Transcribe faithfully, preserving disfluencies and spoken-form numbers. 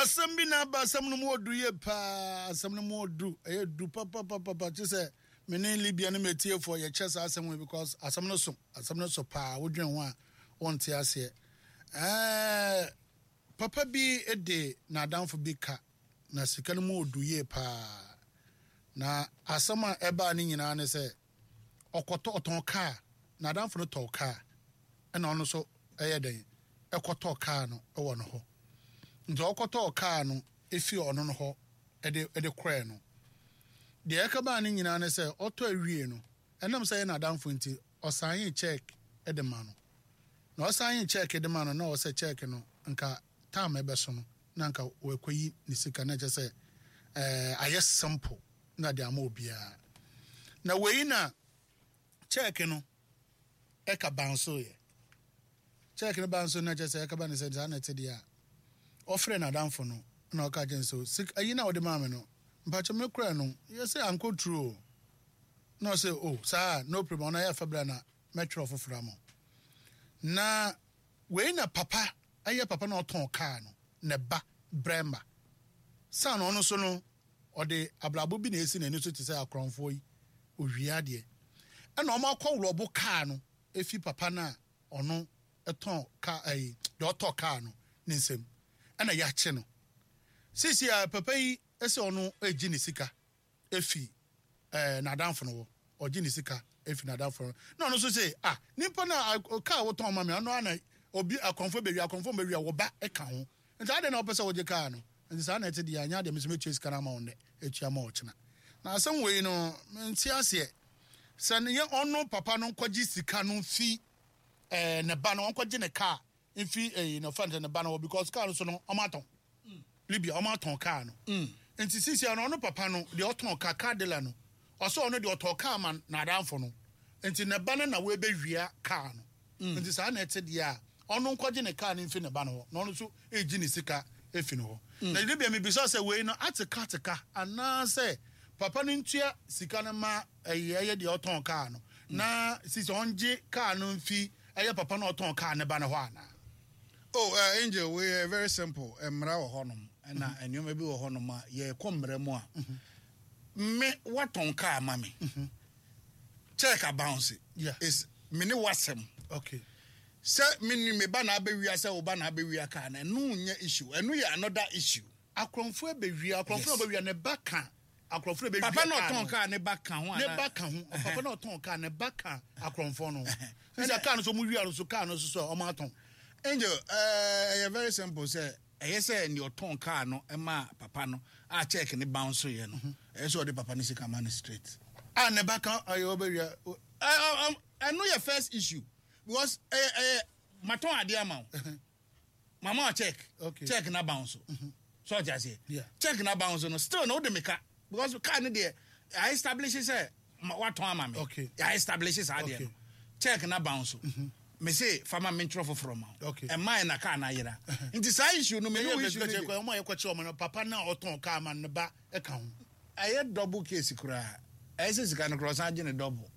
Asɛm bi na aba. Asɛm no mu ɔdu yie paa. Asɛm no mu ɔdu, ɛyɛ du papapapapa. Kye sɛ me ne Libya ne metiefoɔ yɛkyɛ saa asɛm wei because asɛm no so, asɛm no so paa. Wodwen ho a, wonte aseɛ. Ɛɛ, papa bi de n'adamfo bi ka na sika no mu ɔdu yie paa. Na asɛm a ɛbaa ne nyinaa ne sɛ ɔkɔtɔ, ɔtɔn kaa. N'adamfo no tɔn kaa, ɛna ɔno nso ɛyɛ dɛn, ɛkɔtɔ kaa no ɛwɔ no hɔ. Nti ɔkɔtɔɔ kaa no efi ɔno no hɔ ɛde ɛde kɔɛ no deɛ, ɛka baa ne nyinaa ne sɛ ɔtɔ awie no, ɛnam sɛ ɛyɛ n'adamfo nti, ɔsan check ɛde ma no. Na ɔsan check de ma no na ɔsɛ check no nka time ɛbɛso no na nka wɔakɔyi ne sika na kyerɛ sɛ ɛɛ ayɛ simple na de ama obiara. Na wei na check no ɛka bounce yɛ. Check no bounce na kyerɛ sɛ ɛka ba ne sɛ saa na ɛte deɛ a, ɔfrɛ n'adamfo no na ɔka kyerɛ no sɛ sika ayi na ɔde maa me no, mpakyɛ me kura no yɛ sɛ ankɔ turu o. Na ɔsɛ, "O saa, no problem." Ɔno ayɛ fa bra na mɛtwerɛ foforɔ ama wo. Na wei na papa ɛyɛ papa na ɔtɔn kaa no ne ba brɛma saa na ɔno nso no ɔde abrabɔ bi na esi n'ani so te sɛ akorɔmfoɔ yi owia adeɛ, ɛna ɔmo akɔ rob kaa no efi papa no a ɔno ɛtɔn kaa, ɛyi deɛ ɔtɔ kaa no ne nsam, ɛna yɛakye no. Sisi a papa yi ɛsɛ ɔno egye ne sika efi ɛɛ n'adamfo no wɔ, ɔgye ne sika efi n'adamfo no, na ɔno nso sɛ, ah, nipa na kaa wotɔn ma mi, ɔno ana obi akɔnfo bewia, akɔnfo bewia wɔ ba ɛka ho, nti adi na ɔpɛ sɛ ɔgye kaa no. Nti saa na ɛte deɛ, anya deɛ mesɛ metua sika no ama wo nnɛ, etua ma ɔkyena. Na asɛm wei no, nti aseɛ sɛ ne yɛ ɔno papa no nkɔgye sika no fi ɛɛ ne ba no, ɔnkɔgye ne kaa nfi ɛyi ne fa ne ba no wɔ, because kaa no so no ɔmo atɔn Libya, ɔmo atɔn kaa no. Nti sisi ano ɔno papa no deɛ ɔtɔn kaa, car dealer no, ɔsɛ ɔno deɛ ɔtɔn kaa ma n'adamfo no, nti ne ba no na wɔbɛwia kaa no. Nti saa na ɛte deɛ a, ɔno nkɔgye ne kaa no mfi ne ba no hɔ na ɔno nso egyi ne sika efi ne hɔ. Na Libya, mi bisa sɛ wei no ateka ateka anaasɛ papa no ntua sika no ma ɛyɛ ɛyɛ deɛ ɔtɔn kaa no, na sisi ɔngye kaa no mfi ɛyɛ papa no ɔtɔn kaa ne ba no hɔ anaa? Oh, uh, Angel, we are very simple. Mmara wɔ hɔnom, ɛna nneɛma bi wɔ hɔnom a yɛkɔ mmara mu a, me watɔn kaa ma me, check abounce. Yeah. Is me ne wasɛm. Okay sɛ me ni me ba na abɛwia, sɛ wo ba na abɛwia kaa no, ɛno nyɛ issue, ɛno yɛ another issue. Akorɔmfoɔ ebɛwia, akorɔmfoɔ Yes. ebɛwia, ne ba ka akorɔmfoɔ ebɛwia. Papa na kaa ɔtɔn no. kaa ne ba ka ho Ne anaa? ba ka ho. Papa na ɔtɔn kaa, ne ba ka akorɔmfoɔ no. Sisi kaa no so ɔmo wia no so, kaa no so so a ɔmo atɔn. Angel, ɛyɛ very simple sɛ ɛyɛ sɛ nea ɔtɔn kaa no ɛma papa no a check ne bounce yɛ no, ɛyɛ sɛ ɔde papa no sika ma no straight. A ne ba ka ɔyɛ ɔbɛwia. Ɛ- ɛ- ɛ- ɛno yɛ first issue because ɛyɛ ɛyɛ matɔn adeɛ ama wo, mama wa check. Okay. Check na bounce so, ɔte aseɛ? Yeah. Check na bounce no, still na wode me ka because car no deɛ, I establish sɛ ma- watɔn ama me. Okay. I establish saa deɛ Okay. no, check na bounce, me se fama me ntwerɛ foforɔ ma wo. Okay. Ɛma yɛ na car na ayera, nti saa issue no me ne ɛyɛ wo issue no bɛsɛ deɛ, ɔmo a yɛkɔkyɛ ɔmo no, papa na ɔtɔn kaa ma ne ba ɛka ho. Ɛyɛ double case koraa. Ɛyɛ sɛ sika no koraa ɔsan gye ne double.